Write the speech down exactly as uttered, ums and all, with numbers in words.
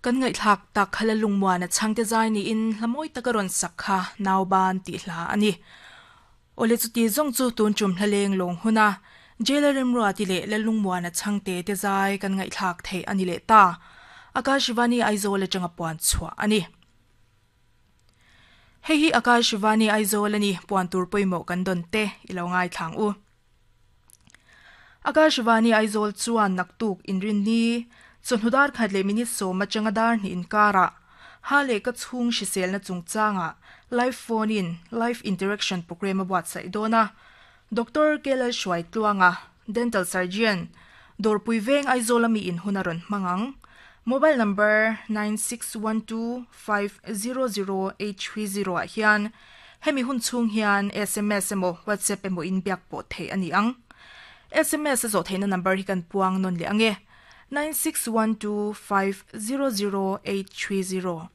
Kan ngaihthlak tak khala lungmuana changte zai ni in hlamoi takaron sakha nauban ti hla ani. Ole chu ti zong chu tun chum hlaleng long huna jailerem ro ati le lalungmuana changte te zai kan ngaihthlak thei ani le ta. Akashvani Aizawl atanga puan chhuah ani. Hei hi Akashvani Aizawl ani puan tur pawimawh kan dawn te ilo ngai thlang u. Akashvani Aizawl chuan naktuk inrin ni chawhnudar khat leh minute sawm atanga dar hnih inkara ha leh ka chhung hriselna chungchanga live phone in live interaction program a buatsaih dawn a. Doctor Kelal Hruai Tluanga dental surgeon Dawrpui Veng Aizawl ami in hun a rawn hmang ang. Mobile number nine six one two five zero zero eight three zero ah hian hemi hun chhung hian S M S emaw WhatsApp emaw in biak pawh theih ani ang. S M S a zawh theihna number hi kan puang nawn leh ange nine six one two five zero zero eight three zero.